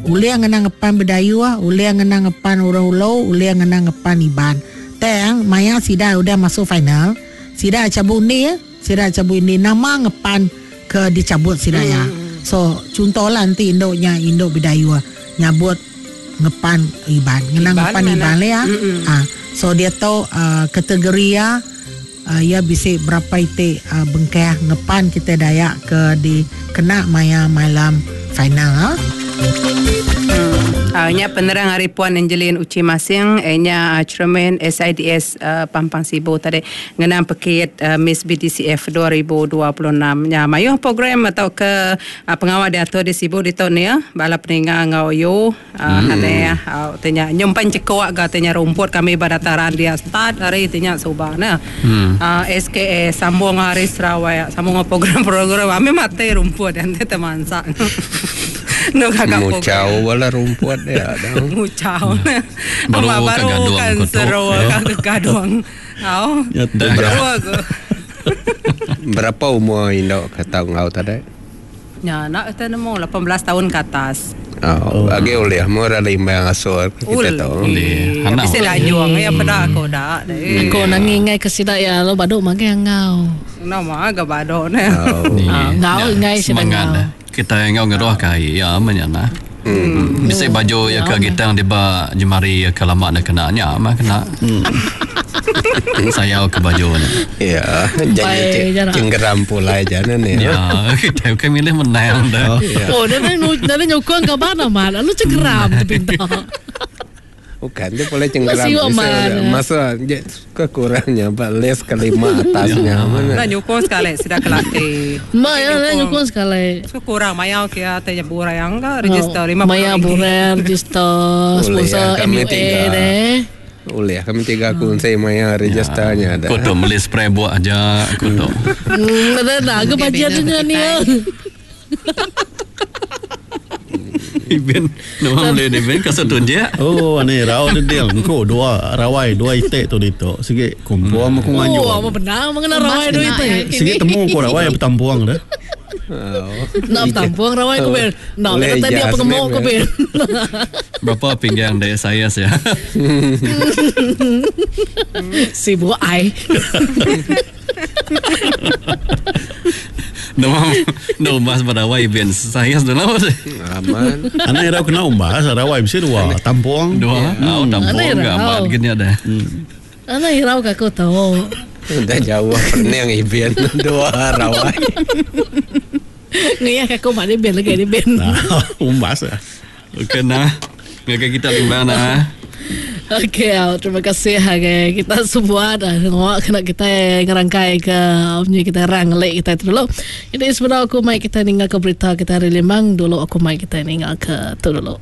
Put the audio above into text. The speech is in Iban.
Ulih ngena ngepan Bidayuh, ulih ngena ngepan Orang Ulu, ulih ngena ngepan Iban. Tang maya sida udah masuk final, sida chabut undi, sida chabut undi nama ngepan ke dichabut sida iya. So chunto lah enti indu nya indu Bidayuh nyabut ngepan Iban, ngena ngepan Iban lah iya. So diatu kategori iya iya bisi berapa iti bengkah ngepan kitai Dayak ke dikena maya malam final. Nya penerang ari Puan Angeline Uchi Masing nya Chairman SIDS Pampang Sibu tadi ngenang pekit Miss BDCF 2026. Nya mayuh program tauka pengawa diatur di Sibu ditu nih bala peninga enggau yu. Haneh au ti nya nyumpen chekuk ga ti nya rumput kami ba dataran dia start ari ti nya suba ne. SKA sambung ari Sarawak sambung enggau program-program ami mati rumput dia enti temansa. Enu gaga program. Muchau bala rumput dia dong. Muchau ne. Baru Ama ka baru gadung kan ku tu. seru ka gadung. Au. Dah Seru ku. Berapa umur indu ke tau enggau tadi? Nya enda kitai nemu 18 taun ke atas. Oh, agi ulih meh orang limbang asur ke kita tu. Ulih. Anak Bisi lanjung iya peda aku da deh. Aku nangi enggai ke sida iya lalu badu magang enggau. Nama ga badu neh. Oh. Enggau enggai sida enggau. Kitai enggau ngeruh ke ai iya meh nya nah. Bisi baju iya ke gitang diba jemari iya ke lama enda kena nya meh kena. Sayau ke baju nya. Ya, jadi cenggeram pulai ja ne ni. Ya, kitai bukai milih menang dah. Oh, nadai nadai nyukung kaban amat lalu cenggeram tepinta. Bukan dia boleh cenggeram masa je kekurangnya ba list kelima atasnya mana. Enda nyukung sekali sida kelati. Ma ya enda nyukung sekali. So kurang mayau kia te nya burang ka register 50 Maya burang register sponsor MUA deh. Ulih kami tiga kunsi maya register nya dah. Ku tu meli spray buak aja ku tu. Enda enda ke bajet nya ni. Ibin nama meli ni Ibin kasut tunjik. Oh ani rau dedil engku dua rawai dua iti tu ditu sigi kumpul aku nganjung. Oh amat bendar mengena rawai dua iti. Sigi temu ku rawai betampung deh. Enda betampung rawai ku bin. Enda kena tadi apa ngemuk ku bin. Berapa pinggang dek saiz ya. Sibuk ai. Nama enda umbas ba rawai bin saiz dulu. Aman. Anak irau kena umbas rawai bisi dua tampung. Dua. Au tampung ga amat gin nya deh. Anak irau ka aku tu. Udah jauh pening ibin dua rawai. Ngeyah ka aku madi bin lagi di bin. Umbas ah. Okey nah. Ngagai kita limbang nah. Okey, terima kasih agai kita semua dah ngawa kena kita ngerangkai ke munyi kita rang ngelik kita tu dulu. Jadi sebedau aku mai kita ninga ke berita kita hari limbang dulu aku mai kita ninga ke tu dulu.